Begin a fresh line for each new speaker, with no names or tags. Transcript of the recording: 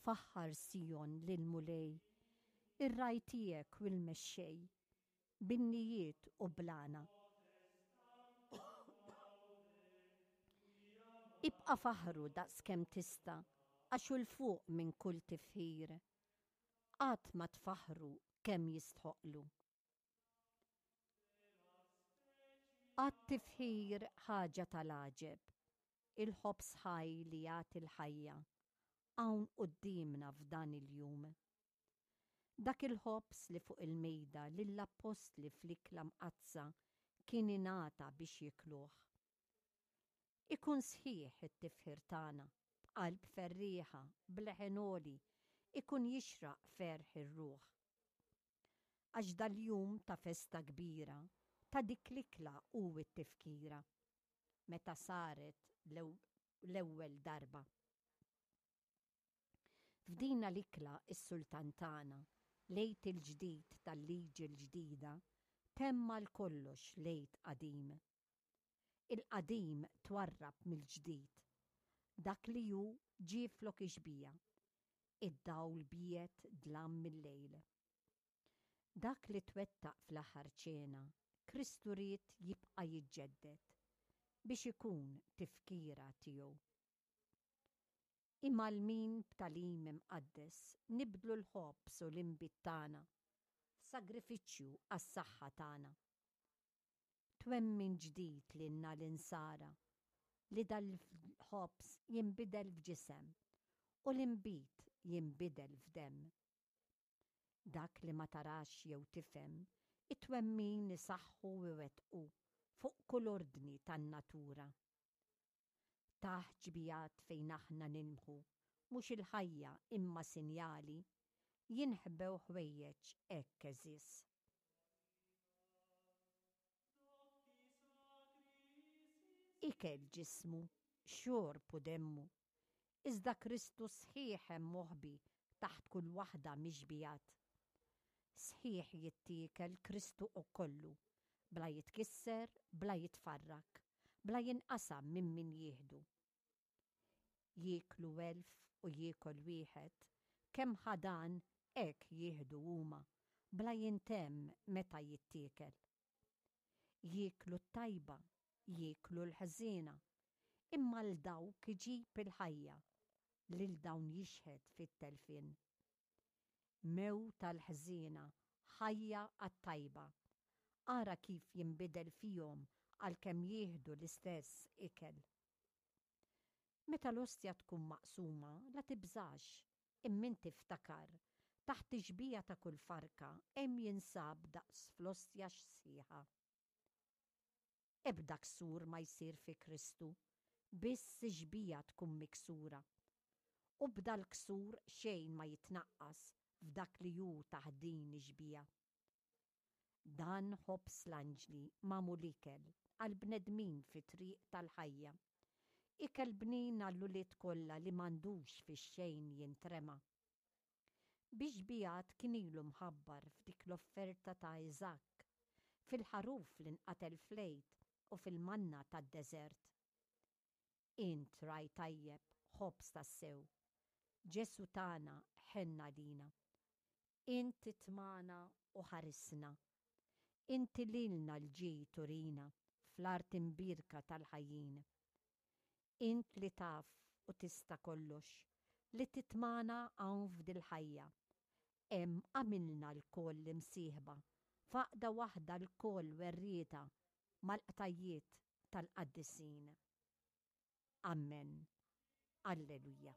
Faħħar Sijon lill-Mulej, ir-ragħaj tiegħek u l-mexxej, bin-nijiet u bl-għana. Ibqa' faħħru daqskemm tista' għax hu 'l fuq minn kull tifħir. Qatt ma tfaħħru kemm jistħoqqlu. Għat-tifħir ħaġa tal-għaġeb, il-ħobż ħaj li jagħti l-ħajja, hawn quddiemna f'dan il-jum. Dak il-ħobż li fuq il-mejda lill-appostli fl-ikla mqaddsa kien ingħata biex jikluh. Ikun sħiħ it-tifħir tagħna, b'qalb ferrieħa, b'leħen għoli, ikun jixraq ferħ ir-ruħ. Għax dal-jum ta' festa kbira, ta' dik l-ikla hu t-tifkira, meta saret l-ewwel darba. F'dina l-ikla s-Sultan tagħna, l-Għid il-ġdid tal-Liġi l-ġdida, temm għal kollox l-Għid qadim. Il-qadim twarrab mill-ġdid. Dak li hu ġie flok ix-xbieha. Id-dawl biegħed dlam mil-lejl. Dak li twettaq fl-aħħar ċena, Kristu ried jibqa' jiġġedded biex ikun tifkira tiegħu. Imgħallmin b'tagħlim imqaddes nibdlu l-ħobż u l-inbid tagħna f'sagrifiċċju għas-saħħa tagħna. Twemmin ġdid lilna l-Insara li dal-ħobż jinbidel f'ġisem u l-inbid jinbidel f'demm. Dak li ma tarax jew tifhem, it-twemmin isaħħu u iwettqu fuq kull ordni tan-natura. Tah ġbijat fejn aħna nilmħu mhux il-ħajja imma sinjali, jinħbew ħwejjeġ hekk għeżież. Ikel ġismu, xorb u demmu, iżda Kristu sħiħ hemm moħbi taħt kull waħda mix-xbijat. Sħiħ jittiekel Kristu kollu, bla jitkisser, bla jitfarrak, bla jinqasam minn min jieħdu. Jieklu elf u jiekol wieħed, kemm ħa dan hekk jieħdu huma, bla jintemm meta jittiekel. Jieklu t-tajba, jieklu l-ħżiena, imma 'l dawk iġib il-ħajja, lil dawn jixhed fit-telfien. Mewt għall-ħżiena, ħajja għat-tajba. Ara kif jinbidel fihom għalkemm jieħdu l-istess ikel. Meta l-ostja tkun maqsuma, la tibżax, imma inti ftakar, taħt ix-xbieha ta' kull farka hemm jinsab daqs fl-ostja sħiħa. Ebda ksur ma jsir fi Kristu, biss ix-xbieha tkun miksura. U b'dal-ksur xejn ma jitnaqqas f'dak li hu taħt din ix-xbieha. Dan ħobż l-anġli magħmul ikel għall-bnedmin fit-triq tal-ħajja. Ikel bnin għall-ulied kollha li m'għandux fix-xejn jintrema. Bix-xbiehat kien ilu mħabbar f'dik l-offerta ta' Iżakk, fil-ħaruf li nqatel fl-Għid u fil-manna tad-deżert. Int ragħaj tajjeb, ħobż tassew. Ġesù tagħna ħenn għalina. Int itmagħna u ħarisna. Inti lilna l-ġid turina fl-art imbierka tal-ħajjin. Int li taf u tista' kollox, li titmagħna hawn f'dil-ħajja. Hemm għamilna lkoll imsieħba, f'għaqda waħda lkoll werrieta mal-qtajjiet tal-qaddisin. Ammen. Alleluja.